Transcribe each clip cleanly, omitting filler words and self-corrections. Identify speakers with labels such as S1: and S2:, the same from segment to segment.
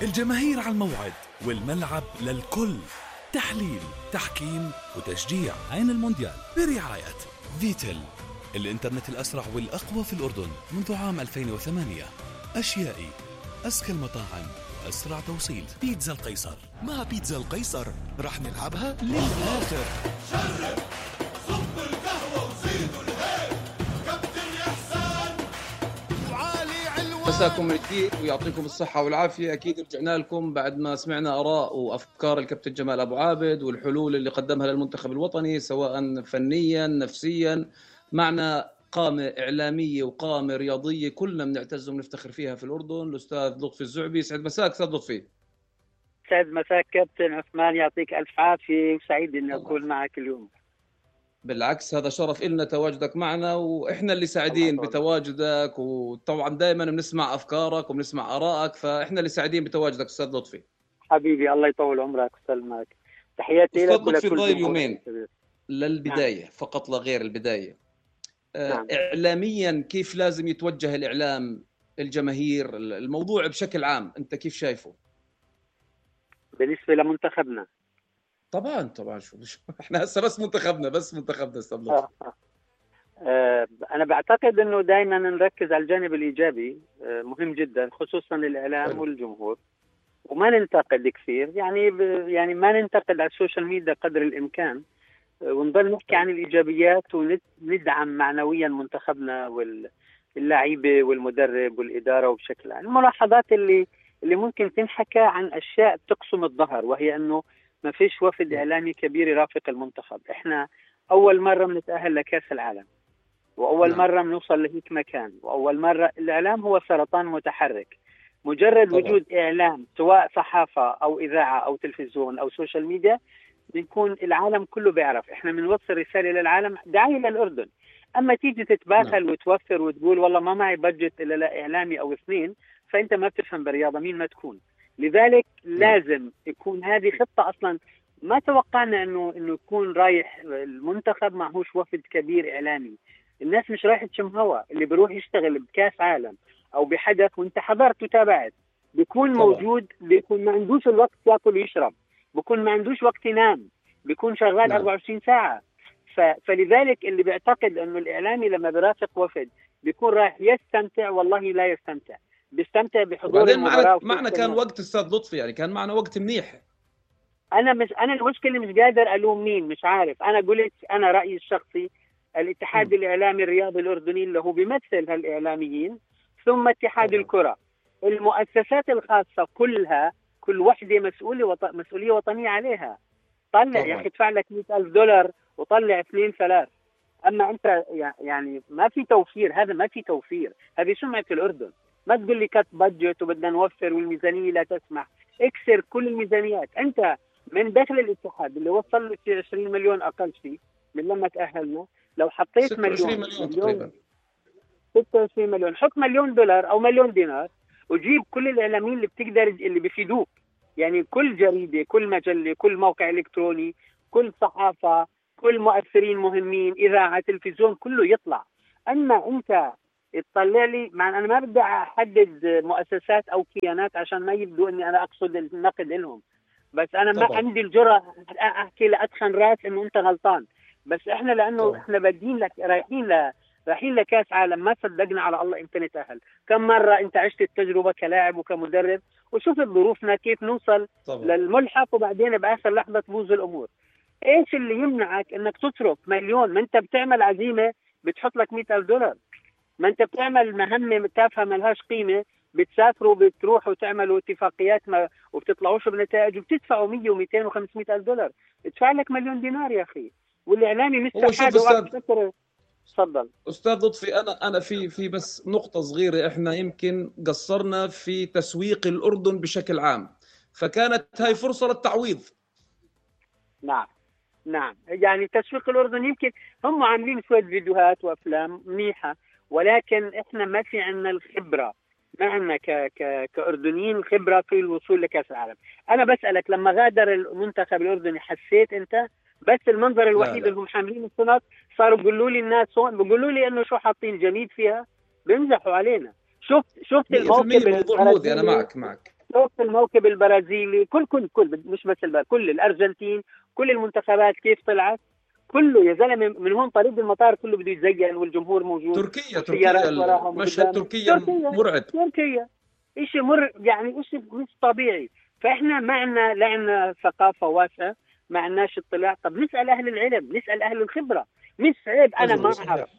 S1: الجماهير على الموعد والملعب للكل. تحليل، تحكيم وتشجيع. عين المونديال برعاية فيتل، الإنترنت الأسرع والأقوى في الأردن منذ عام 2008. أشيائي، أزكى المطاعم، أسرع توصيل. بيتزا القيصر.
S2: مع بيتزا القيصر رح نلعبها للآخر.
S3: شرب صب القهوة وزيدوا الهيل. كابتن إحسان وعلي علوان.
S4: مساكم من جديد ويعطيكم الصحة والعافية. أكيد رجعنا لكم بعد ما سمعنا آراء وأفكار الكابتن جمال أبو عابد والحلول اللي قدمها للمنتخب الوطني سواء فنيا نفسيا. معنا قامة إعلامية وقامة رياضية كلنا بنعتز ونفتخر فيها في الأردن، الأستاذ لطفي الزعبي. سعد مساك أستاذ لطفي.
S5: سعد مساك كابتن عثمان، يعطيك ألف عافية وسعيد إني أكون معك اليوم.
S4: بالعكس هذا شرف إلنا تواجدك معنا، وإحنا اللي سعيدين بتواجدك، وطبعا دائما بنسمع أفكارك وبنسمع آرائك، فإحنا اللي سعيدين بتواجدك أستاذ لطفي.
S5: حبيبي الله يطول عمرك وسلمك. تحياتي لك
S4: ولكل أستاذ لطفي
S5: يومين
S4: للبداية. نعم. فقط لا غير البداية.
S5: نعم.
S4: إعلاميا كيف لازم يتوجه الإعلام الجماهير الموضوع بشكل عام، أنت كيف شايفه؟
S5: بالنسبة لمنتخبنا
S4: طبعا شو احنا هسه بس منتخبنا استاذ.
S5: أنا بعتقد إنه دائما نركز على الجانب الإيجابي، مهم جدا خصوصا للإعلام والجمهور، وما ننتقد كثير، يعني ما ننتقد على السوشيال ميديا قدر الإمكان، ونضل نحكي عن الإيجابيات وندعم معنويا منتخبنا واللاعيبة والمدرب والإدارة وبشكل عام. الملاحظات اللي ممكن تنحكى عن أشياء تقسم الظهر، وهي أنه ما فيش وفد إعلامي كبير يرافق المنتخب. إحنا أول مرة بنتأهل لكأس العالم، وأول مرة بنوصل لهيك مكان، وأول مرة الإعلام هو سرطان متحرك. مجرد وجود إعلام سواء صحافة أو إذاعة أو تلفزيون أو سوشيال ميديا بنكون العالم كله بيعرف. إحنا بنوصل رسالة للعالم دعاية للأردن. أما تيجي تتباخل وتوفر وتقول والله ما معي بجت إلا لا إعلامي أو اثنين، فأنت ما بتفهم بالرياضة مين ما تكون. لذلك لازم يكون هذه خطة. أصلا ما توقعنا إنه يكون رايح المنتخب معهوش وفد كبير إعلامي. الناس مش رايح تشم هوا. اللي بيروح يشتغل بكاس عالم أو بحدث وانت حضرت وتابعت بيكون موجود، بيكون ما عندوش الوقت يأكل ويشرب، بيكون ما عندوش وقت ينام، بيكون شغال 24 ساعة. فلذلك اللي بيعتقد انه الاعلامي لما بيرافق وفد بيكون رايح يستمتع، والله لا يستمتع. بيستمتع بحضور المباراة.
S4: معنا كان وقت استاذ لطفي، يعني كان معنا وقت منيح.
S5: انا المشكلة مش قادر الوم مين، مش عارف. انا قلت انا رأيي الشخصي، الاتحاد الإعلامي الرياضي الأردني اللي هو بيمثل هالإعلاميين، ثم اتحاد الكرة، المؤسسات الخاصة كلها، كل وحدة مسؤولية وطنية عليها. طلع يا أخي ادفع لك $100,000 وطلع 2-3. أما أنت يعني ما في توفير. هذا ما في توفير. هذه سمعة الأردن. ما تقول لي كت بادجت وبدنا نوفر والميزانية لا تسمح. اكسر كل الميزانيات. أنت من داخل الاتحاد اللي وصل له 20 مليون أقل شيء من لما تأهلنا، لو حطيت
S4: 26 مليون تقريبا،
S5: 26 مليون، حط $1,000,000 أو $1,000,000 وجيب كل الإعلاميين اللي بتقدر اللي بيفيدوك. يعني كل جريدة، كل مجلة، كل موقع إلكتروني، كل صحافة، كل مؤثرين مهمين، إذاعة، تلفزيون، كله يطلع. أما أنت تطلع لي، مع أنا ما بدي أحدد مؤسسات أو كيانات عشان ما يبدو أني أنا أقصد النقد لهم، بس أنا ما عندي الجرأة أحكي لأدخن راس إنه أنت غلطان. بس إحنا لأنه إحنا بادين لك رايحين لكاس عالم، ما صدقنا على الله إمتى نتأهل. كم مرة أنت عشت التجربة كلاعب وكمدرب وشوف ظروفنا كيف نوصل للملحق، وبعدين بآخر لحظة تبوظ الأمور. إيش اللي يمنعك إنك تصرف $1,000,000؟ ما أنت بتعمل عزيمة بتحط لك $100,000. ما أنت بتعمل مهمة تافهة ما لهاش قيمة، بتسافروا بتروحوا وتعملوا اتفاقيات وبتطلعوش بنتائج وبتدفعوا 100 و200 و500 ألف دولار. ادفع لك $1,000,000 يا أخي. والإعلامي مستحاد. تفضل
S4: أستاذ لطفي. أنا في بس نقطة صغيرة. إحنا يمكن قصرنا في تسويق الأردن بشكل عام، فكانت هاي فرصة للتعويض.
S5: نعم يعني تسويق الأردن يمكن هم عاملين شوية فيديوهات وأفلام منيحة، ولكن إحنا ما في عنا الخبرة، ما عنا كأردنيين خبرة في الوصول لكأس العالم. أنا بسألك، لما غادر المنتخب الأردني حسيت أنت؟ بس المنظر الوحيد اللي هم حاملين الشنط صاروا بيقولوا لي الناس هون، بيقولوا لي إنه شو حاطين جميد فيها، بيمزحوا علينا. شفت الموقف
S4: الموضوع مودي. أنا معك
S5: شوف الموكب البرازيلي، كل مش بس كل الارجنتين، كل المنتخبات كيف طلعت، كله يا زلمه من هون طريق المطار كله بده يتزين والجمهور موجود.
S1: تركيا المشهد تركيا مرعب.
S5: تركيا شيء يعني شيء مش طبيعي. فاحنا معنا لعنا ثقافه واسعه، ما عندناش اطلاع. طب نسال اهل العلم، نسال اهل الخبره. مش عيب انا ما اعرف،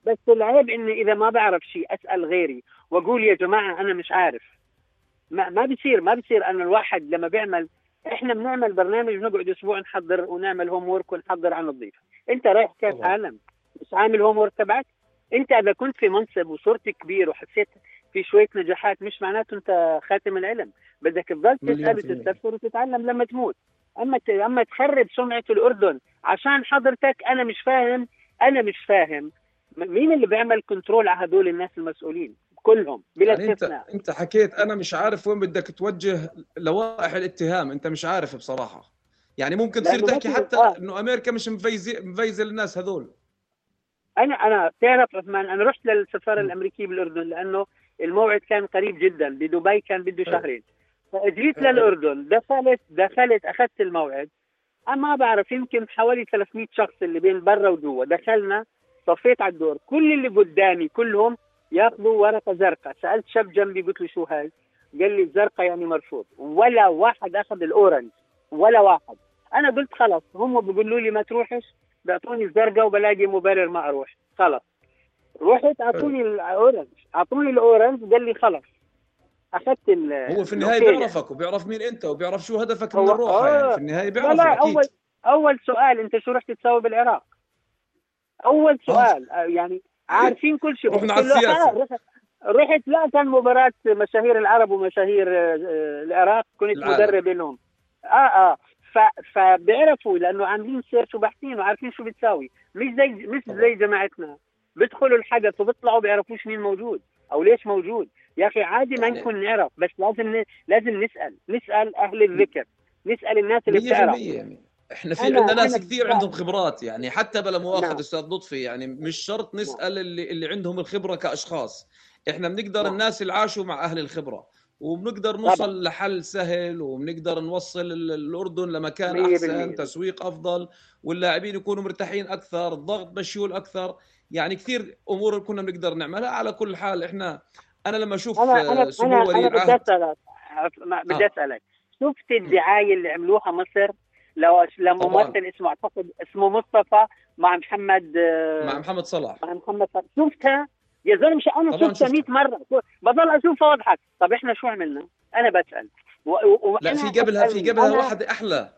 S5: بس العيب اني اذا ما بعرف شيء اسال غيري واقول يا جماعه انا مش عارف. ما بصير أن الواحد لما بيعمل، إحنا بنعمل برنامج بنقعد أسبوع نحضر ونعمل هوم وورك ونحضر عن الضيف. أنت رايح كاس عالم مش عامل هوم وورك تبعك؟ أنت إذا كنت في منصب وصرت كبير وحسيت في شوية نجاحات مش معناته أنت خاتم العلم، بدك تضل تسأل وتستفسر وتتعلم لما تموت. أما تخرب سمعة الأردن عشان حضرتك، أنا مش فاهم مين اللي بيعمل كنترول على هدول الناس المسؤولين كلهم بلا استثناء.
S4: يعني انت حكيت انا مش عارف وين بدك توجه لوائح الاتهام، انت مش عارف بصراحه. يعني ممكن تصير تحكي حتى انه امريكا مش مفيزه للناس هذول.
S5: انا تعرف عثمان، انا رحت للسفاره الامريكيه بالاردن لانه الموعد كان قريب جدا، بدبي كان بده شهرين، فاجيت للاردن، دخلت اخذت الموعد. انا ما بعرف، يمكن حوالي 300 شخص اللي بين برا وجوا. دخلنا صفيت على الدور، كل اللي قدامي كلهم ياخذوا ورقه زرقاء. سالت شاب جنبي قلت له شو هاي؟ قال لي الزرقاء يعني مرفوض. ولا واحد اخذ الاورنج، ولا واحد. انا قلت خلص، هم بيقولوا لي ما تروحش، بيعطوني الزرقاء وبلاقي مبرر ما اروح. خلص رحت، اعطوني الاورنج قال لي خلص اخذت
S4: هو في النهايه بيعرفك وبيعرف مين انت وبيعرف شو هدفك من الروحه. يعني في النهايه بيعرفك. اكيد
S5: اول سؤال، انت شو رحت تسوي بالعراق؟ اول سؤال يعني عارفين كل شيء.
S4: رحنا على السياسه.
S5: رحت لا كان مباراة مشاهير العرب ومشاهير العراق، كنت مدرب لهم. فبيعرفوا لانه عاملين سيرش وباحثين وعارفين شو بتساوي. مش زي جماعتنا بيدخلوا الحدث وبيطلعوا بيعرفوش مين موجود او ليش موجود. يا اخي عادي ما نكون نعرف، بس لازم نسال اهل الذكر، نسال الناس اللي بتعرف.
S4: احنا في عندنا ناس كثير عندهم خبرات، يعني حتى بلا مؤاخذة استاذ لطفي، يعني مش شرط نسال اللي عندهم الخبره كاشخاص. احنا بنقدر الناس اللي عاشوا مع اهل الخبره، وبنقدر نوصل لحل سهل، وبنقدر نوصل الاردن لمكان احسن، تسويق افضل، واللاعبين يكونوا مرتاحين اكثر، الضغط مشيول اكثر. يعني كثير امور كنا بنقدر نعملها. على كل حال انا لما اشوف سمو ولي العهد
S5: بدي اسالك شفت الدعايه اللي عملوها مصر لما ممثل اسمه مصطفى مع محمد صلاح. شفتها يا زلمه؟ انا شفتها 100 مره، بضل اشوفها واضحك. طب احنا شو عملنا؟ انا بسال
S4: لا، في قبلها واحده احلى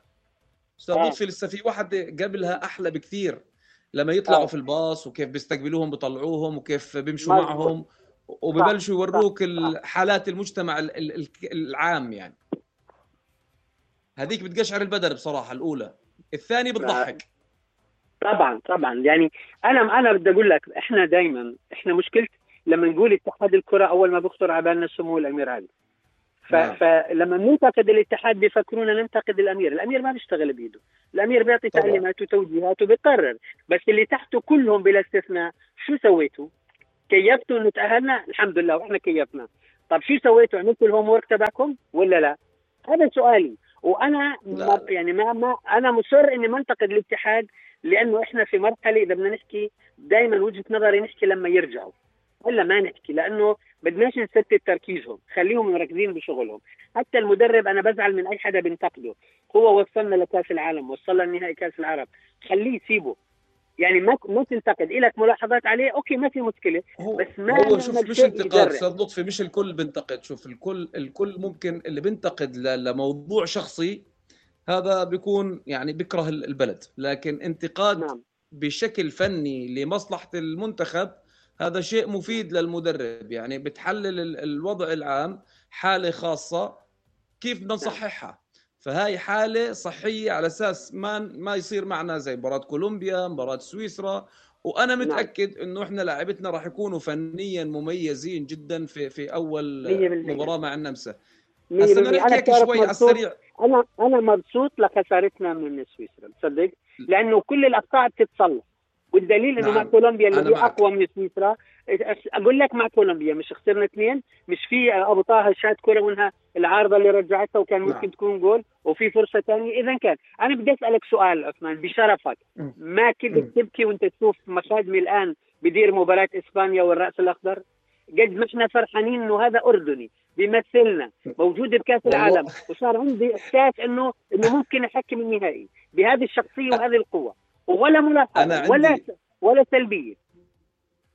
S4: استاذ لطفي. لسه في واحده قبلها احلى بكثير، لما يطلعوا في الباص وكيف بيستقبلوهم بيطلعوهم وكيف بيمشوا معهم وببلشوا يوروك حالات المجتمع العام. يعني هذيك بتقشعر البدن بصراحه. الاولى، الثانيه بتضحك.
S5: طبعا يعني انا بدي اقول لك، احنا دائما مشكله لما نقول اتحاد الكره اول ما بيخطر على بالنا سمو الامير علي. فلما ننتقد الاتحاد بيفكرونا ننتقد الامير ما بيشتغل بايده. الامير بيعطي تعليمات وتوجيهات وبيقرر، بس اللي تحته كلهم بلا استثناء شو سويتوا؟ كيفتوا انه تاهلنا؟ الحمد لله واحنا كيفنا. طب شو سويتوا؟ عملتوا الهوم ورك تبعكم ولا لا؟ هذا سؤالي. وانا ما انا مصر اني منتقد الاتحاد، لانه احنا في مرحله اذا بدنا نحكي دائما وجهه نظري نحكي لما يرجعوا، ولا ما نحكي، لانه بدناش نستت تركيزهم، خليهم مركزين بشغلهم. حتى المدرب انا بزعل من اي حدا بينتقده، هو وصلنا لكاس العالم، وصلنا لنهائي كاس العرب، خليه سيبه. يعني ما تنتقد، إلك ملاحظات عليه اوكي ما في مشكله، بس ما
S4: هو شوف مش انتقاد استاذ لطفي، مش الكل بينتقد. شوف الكل ممكن اللي بينتقد لموضوع شخصي هذا بيكون يعني بيكره البلد، لكن انتقاد بشكل فني لمصلحة المنتخب هذا شيء مفيد للمدرب. يعني بتحلل الوضع العام، حالة خاصة كيف بدنا نصححها. فهاي حالة صحية على أساس ما يصير معنا زي مباراة كولومبيا، مباراة سويسرا. وأنا متأكد إنه إحنا لاعبتنا راح يكونوا فنيا مميزين جدا في أول مباراة مع النمسا. هسه بدنا نحكي هيك شوي على السريع.
S5: انا مبسوط لخسارتنا من سويسرا، تصدق؟ لانه كل الاخطاء بتتصلح. والدليل انه
S4: نعم.
S5: مع كولومبيا اللي
S4: أنا
S5: هي
S4: معك.
S5: اقوى من سويسرا. اقول لك مع كولومبيا مش خسرنا 2، مش في ابو طه شات كره منها العارضه اللي رجعتها وكان ممكن
S4: نعم.
S5: تكون جول، وفي فرصه ثانيه. اذا كان انا بدي اسالك سؤال عثمان بشرفك، ما كنت تبكي وانت تشوف مخادمي الان بدير مباراه اسبانيا والراس الاخضر؟ قد ما احنا فرحانين انه هذا اردني بيمثلنا موجود بكاس العالم، وصار عندي احساس انه ممكن احكم النهائي بهذه الشخصيه وهذه القوه، ولا ملاحظه ولا سلبيه.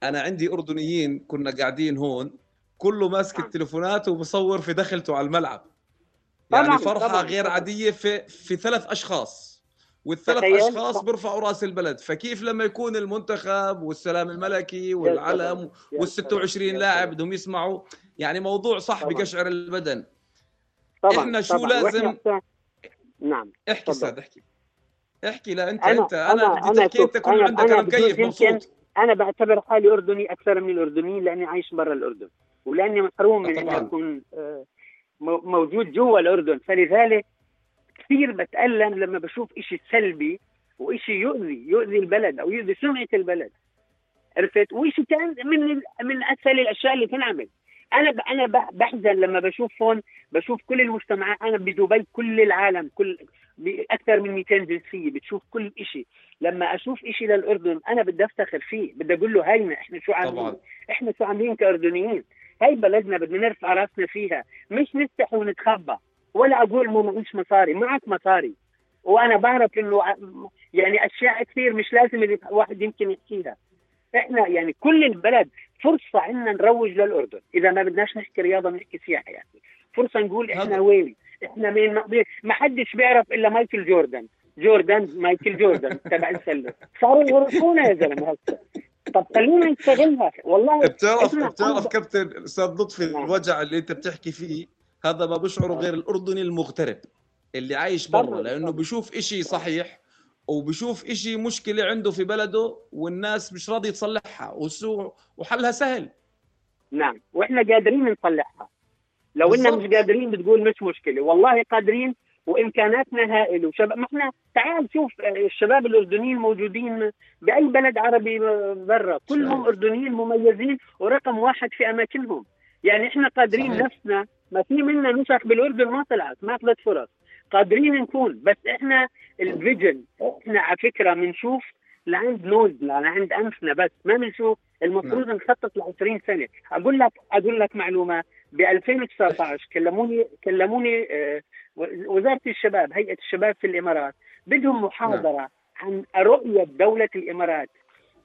S4: انا عندي اردنيين كنا قاعدين هون كله ماسك التليفونات وبصور في دخلته على الملعب، يعني فرحه غير عاديه في 3 اشخاص، والثلاث اشخاص بيرفعوا راس البلد. فكيف لما يكون المنتخب والسلام الملكي والعلم وال26 لاعب بدهم يسمعوا؟ يعني موضوع صح بقشعر البدن. احنا شو لازم؟
S5: نعم
S4: احكي استاذ، احكي. لا انا بدي تحكي، انت كل عندك انا مكيف مبسوط.
S5: انا بعتبر حالي اردني اكثر من الاردنيين لاني عايش برا الاردن، ولاني محروم من اني اكون موجود جوا الاردن. فلذلك كثير بتألم لما بشوف إشي سلبي وإشي يؤذي البلد أو يؤذي سمعة البلد، عرفت؟ وإشي كان من أسهل الأشياء اللي تنعمل. أنا بحزن لما بشوف كل المجتمعات. أنا بدبي كل العالم أكثر من 200 جنسية، بتشوف كل إشي. لما أشوف إشي للأردن أنا بدي أفتخر فيه، بدي أقول له هاينا إحنا شو عاملين، إحنا شو عاملين كأردنيين. هاي بلدنا بدنا نرفع راسنا فيها، مش نستحي ونتخبى. ولا أقول ما معيش مصاري، معك مصاري، وأنا بعرف إنه يعني أشياء كثير مش لازم الواحد يمكن يحكيها. إحنا يعني كل البلد فرصة عنا نروج للأردن. إذا ما بدناش نحكي رياضة نحكي سياحة، يعني فرصة نقول إحنا وين، إحنا مين. ما حدش بيعرف إلا مايكل جوردن مايكل جوردن تبع السلة. صاروا يعرفونا يا زلمة هسه. طب خلينا نستغلها والله.
S4: بتعرف كابتن أستاذ لطفي، الوجع اللي أنت بتحكي فيه هذا ما بشعره غير الأردني المغترب اللي عايش برا، لأنه بيشوف إشي صحيح وبيشوف إشي مشكلة عنده في بلده والناس مش راضي تصلحها وحلها سهل.
S5: نعم، وإحنا قادرين نصلحها. لو إننا مش قادرين بتقول مش مشكلة، والله قادرين وإمكاناتنا هائلة. وشباب ما إحنا تعال شوف الشباب الأردنيين موجودين بأي بلد عربي برا، كلهم أردنيين مميزين ورقم 1 في أماكنهم. يعني إحنا قادرين صحيح. نفسنا ما في منا نسخ بالأردن ما طلعت فرص، قادرين نكون. بس إحنا الفيجن، إحنا على فكرة بنشوف لعند نوزنا لعند أنفنا، بس ما بنشوف. المفروض نخطط ل20 سنة. أقول لك معلومة. ب 2019 كلموني وزارة الشباب، هيئة الشباب في الإمارات، بدهم محاضرة عن رؤية دولة الإمارات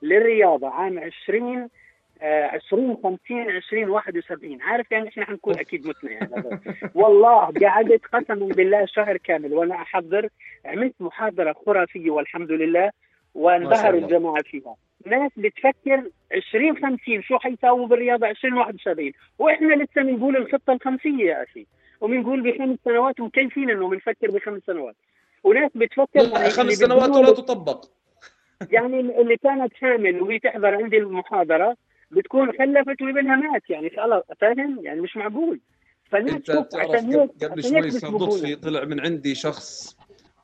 S5: للرياضة عام 2050 2071. عارف يعني احنا حنكون اكيد متنا يعني. والله قعدت قسما بالله شهر كامل وانا احضر، عملت محاضرة خرافية والحمد لله، وانبهروا الجماعة فيها. ناس بتفكر 2050 شو حيساووا بالرياضة 2071، واحنا لسه بنقول الخطة الخمسية يا اخي، وبنقول ب5 سنوات، ومكيفين انه بنفكر ب5 سنوات. وناس بتفكر
S4: 5 سنوات ولا تطبق.
S5: يعني اللي كانت حامل وهي تحضر عندي المحاضرة بتكون خلفت وابنها مات، يعني خلاص فاهم يعني مش معقول.
S4: انت بتعرف قبل شوي صدق طلع من عندي شخص،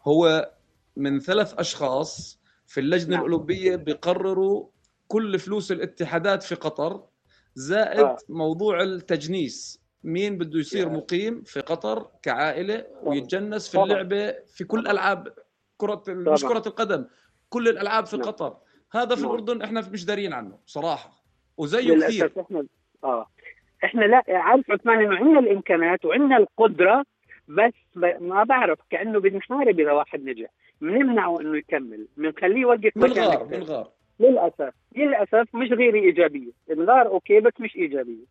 S4: هو من 3 أشخاص في اللجنة الأولمبية بيقرروا كل فلوس الاتحادات في قطر، زائد موضوع التجنيس، مين بده يصير مقيم في قطر كعائلة ويتجنس في اللعبة في كل ألعاب مش كرة القدم، كل الألعاب في قطر. هذا في الأردن احنا مش دارين عنه صراحة، وزيه كثير.
S5: احنا لا عارف عثمان انه عندنا الامكانات وعندنا القدره، بس ما بعرف كانه بنحارب اذا واحد نجح، بنمنعه انه يكمل، بنخليه يوقف
S4: بنغار.
S5: للاسف مش غير ايجابيه، الغار اوكي بس مش ايجابيه.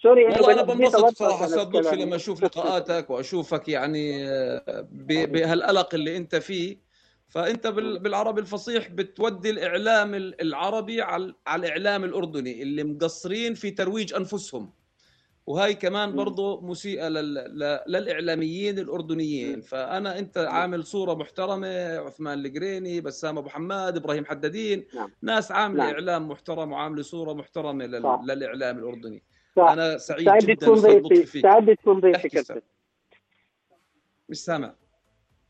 S5: سوري
S4: والله انا بنبسط صراحه استاذ لطفي لما اشوف لقاءاتك واشوفك يعني بهالقلق اللي انت فيه. فأنت بالعربي الفصيح بتودي الإعلام العربي على الإعلام الأردني اللي مقصرين في ترويج أنفسهم، وهاي كمان برضو مسيئة للإعلاميين الأردنيين. أنت عامل صورة محترمة، عثمان القريني، بسام أبو حماد، إبراهيم حدادين، ناس عاملة إعلام محترم وعاملة صورة محترمة للإعلام الأردني. أنا سعيد جدا
S5: سعيد تكون ضيفي كابتن.
S4: مش سامع.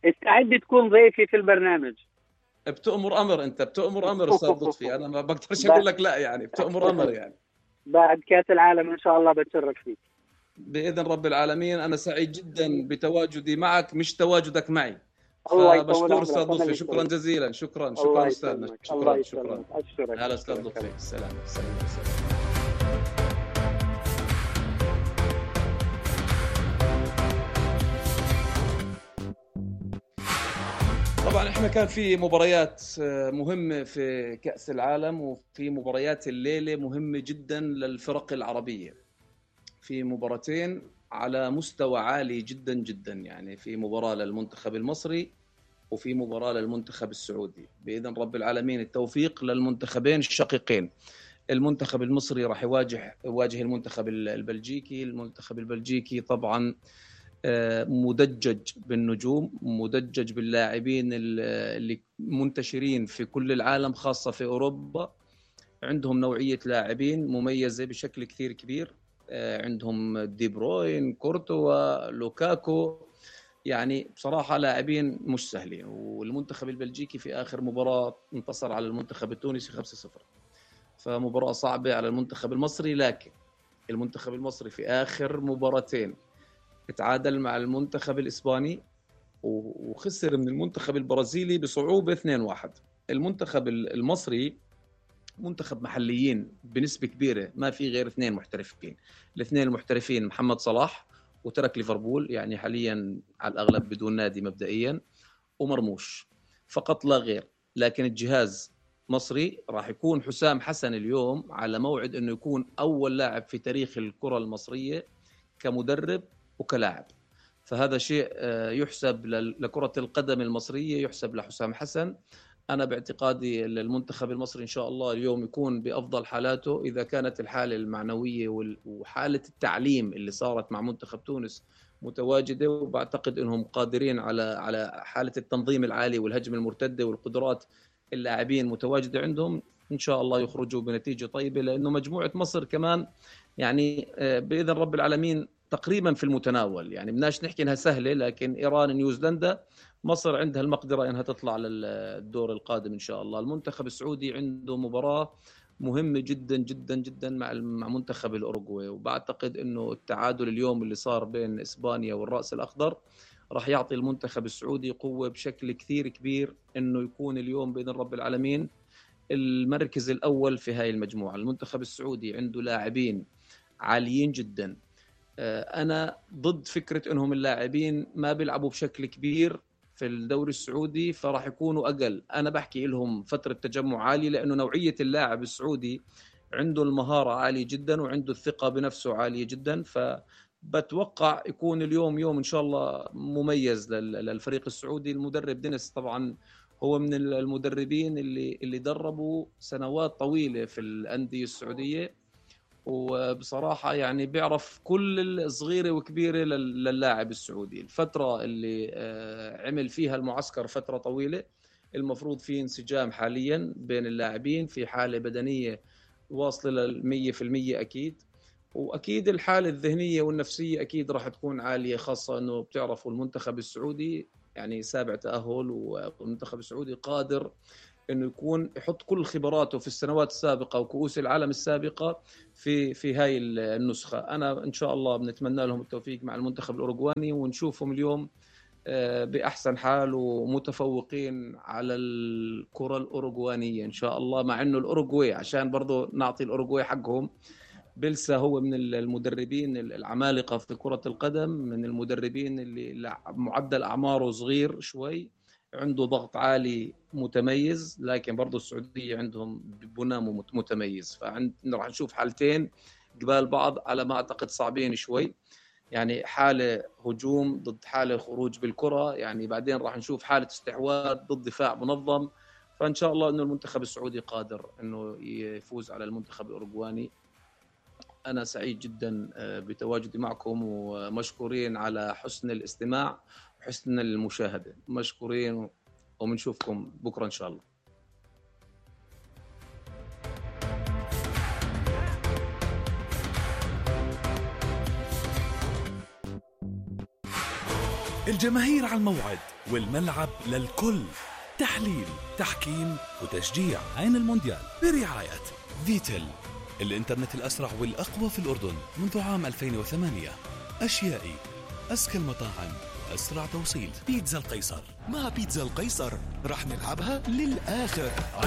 S5: استعد تكون ضيفي في البرنامج.
S4: بتأمر أمر، أنت بتأمر أمر أستاذ لطفي، أنا ما بقدرش أقول لك لا، يعني بتأمر أمر يعني.
S5: بعد كأس العالم إن شاء الله بتشرف فيك
S4: بإذن رب العالمين. أنا سعيد جدا بتواجدي معك، مش تواجدك معي.
S5: الله يطول
S4: فبشكر
S5: عمرك.
S4: أستاذ
S5: أنا
S4: لطفي،
S5: اللي
S4: شكرا
S5: سعيد.
S4: جزيلا. شكرا
S5: الله
S4: أستاذنا،
S5: يسلمك. الله
S4: شكرا.
S5: يسلمك. أشكرك.
S4: هلا أستاذ
S5: أشكرك.
S4: لطفي، السلام. طبعا احنا كان في مباريات مهمة في كأس العالم، وفي مباريات الليلة مهمة جدا للفرق العربية. في مباراتين على مستوى عالي جدا جدا، يعني في مباراة للمنتخب المصري وفي مباراة للمنتخب السعودي. بإذن رب العالمين التوفيق للمنتخبين الشقيقين. المنتخب المصري راح يواجه المنتخب البلجيكي. المنتخب البلجيكي طبعا مدجج بالنجوم، مدجج باللاعبين اللي منتشرين في كل العالم، خاصة في أوروبا. عندهم نوعية لاعبين مميزة بشكل كثير كبير. عندهم دي بروين، كورتوا، لوكاكو، يعني بصراحة لاعبين مش سهلين. والمنتخب البلجيكي في آخر مباراة انتصر على المنتخب التونسي 5-0، فمباراة صعبة على المنتخب المصري. لكن المنتخب المصري في آخر مباراتين اتعادل مع المنتخب الإسباني وخسر من المنتخب البرازيلي بصعوبة 2-1. المنتخب المصري منتخب محليين بنسبة كبيرة، ما في غير 2 محترفين. الاثنين المحترفين محمد صلاح وترك ليفربول، يعني حاليا على الأغلب بدون نادي مبدئيا، ومرموش فقط لا غير. لكن الجهاز مصري، راح يكون حسام حسن اليوم على موعد أنه يكون أول لاعب في تاريخ الكرة المصرية كمدرب وكلاعب. فهذا شيء يحسب لكرة القدم المصرية، يحسب لحسام حسن. أنا باعتقادي المنتخب المصري إن شاء الله اليوم يكون بأفضل حالاته، إذا كانت الحالة المعنوية وحالة التعليم اللي صارت مع منتخب تونس متواجدة. وبعتقد أنهم قادرين على حالة التنظيم العالي والهجم المرتدة والقدرات اللاعبين متواجدة عندهم. إن شاء الله يخرجوا بنتيجة طيبة، لأنه مجموعة مصر كمان يعني بإذن رب العالمين تقريبا في المتناول. يعني بدناش نحكي انها سهله، لكن ايران، نيوزيلندا، مصر عندها المقدره انها تطلع للدور القادم ان شاء الله. المنتخب السعودي عنده مباراه مهمه جدا جدا جدا مع منتخب الاوروغواي، وبعتقد انه التعادل اليوم اللي صار بين اسبانيا والراس الاخضر راح يعطي المنتخب السعودي قوه بشكل كثير كبير انه يكون اليوم باذن رب العالمين المركز الاول في هاي المجموعه. المنتخب السعودي عنده لاعبين عاليين جدا. أنا ضد فكرة أنهم اللاعبين ما بيلعبوا بشكل كبير في الدوري السعودي فراح يكونوا أقل. أنا بحكي لهم فترة تجمع عالي، لأنه نوعية اللاعب السعودي عنده المهارة عالية جدا وعنده الثقة بنفسه عالية جدا. فبتوقع يكون اليوم يوم إن شاء الله مميز للفريق السعودي. المدرب دينيس طبعا هو من المدربين اللي دربوا سنوات طويلة في الأندية السعودية، وبصراحة يعني بيعرف كل الصغيرة وكبيرة للاعب السعودي. الفترة اللي عمل فيها المعسكر فترة طويلة، المفروض في انسجام حاليا بين اللاعبين، في حالة بدنية واصلة 100% أكيد، وأكيد الحالة الذهنية والنفسية أكيد راح تكون عالية، خاصة أنه بتعرفوا المنتخب السعودي يعني سابع تأهل، والمنتخب السعودي قادر انه يكون يحط كل خبراته في السنوات السابقه وكؤوس العالم السابقه في هاي النسخه. انا ان شاء الله بنتمنى لهم التوفيق مع المنتخب الاوروغواني، ونشوفهم اليوم باحسن حال ومتفوقين على الكره الاوروغوانيه ان شاء الله. مع انه الاوروغواي، عشان برضو نعطي الاوروغواي حقهم، بيلسا هو من المدربين العمالقه في كره القدم، من المدربين اللي معدل اعماره صغير شوي، عنده ضغط عالي متميز، لكن برضو السعودية عندهم بناء متميز. فعندنا راح نشوف حالتين قبال بعض على ما أعتقد صعبين شوي، يعني حالة هجوم ضد حالة خروج بالكرة، يعني بعدين راح نشوف حالة استحواذ ضد دفاع منظم. فإن شاء الله أنه المنتخب السعودي قادر أنه يفوز على المنتخب الأوروغواني. أنا سعيد جدا بتواجدي معكم، ومشكورين على حسن الاستماع وحسن المشاهدة. مشكورين، ومنشوفكم بكرة إن شاء الله.
S1: الجماهير على الموعد والملعب للكل. تحليل، تحكيم وتشجيع. عين المونديال برعاية فيتل، الإنترنت الأسرع والأقوى في الأردن منذ عام 2008. أشيائي، أذكى المطاعم وأسرع توصيل. بيتزا القيصر.
S2: مع بيتزا القيصر رح نلعبها للآخر.